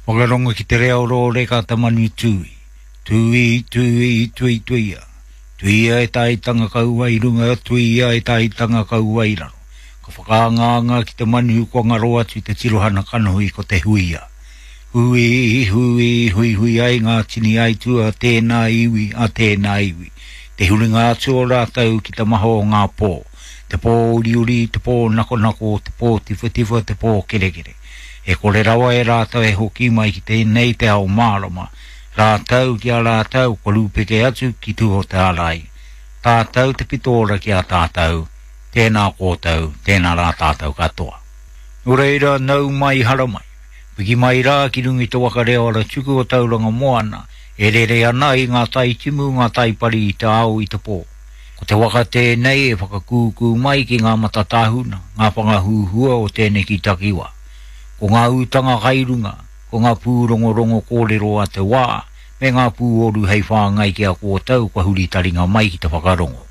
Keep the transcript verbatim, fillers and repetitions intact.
Whakarongo ki te reo rōreka te manu tūi. Tūi, tūi, tui, tuia. Tuia e taitanga kaua i runga, tuia e taitanga kaua i raro. Ka whakaangaanga ki te manu kua ngaro atu te tirohana kanohi ko te huia. Hui, hui, hui, hui ai ngā tini aitu a tēnā iwi, a tēnā iwi. Te huringa atu o rātou ki te maha o ngā pō. Te pō uriuri, te pō nakonako, te pō tiwhatiwha, te pō kerekere. E kore rawa e rātou e hoki mai ki tēnei te ao mārama. Rātou ki a rātou, kua rūpeke atu ki tua o te ārai. Tātou te pitora ki a tātou, tēnā kōtou, tēnā rā tātou katoa. Nō reira, nau mai haramai. Piki mai rā ki runga i te waka reo ara tuku o Tauranga Moana, e rere ana i ngā tai timu, ngā tai pari i te ao i te pō. Ko te waka tēnei e whakakūkū mai ki ngā matatāhuna, ngā whangahuhua o tēneki takiwā. Ko ngā utanga kai runga, ko ngā pūrongorongo kōrero a te wā, me ngā pūoru hei whāngai ki a kōtou kua huri taringa mai ki te whakarongo.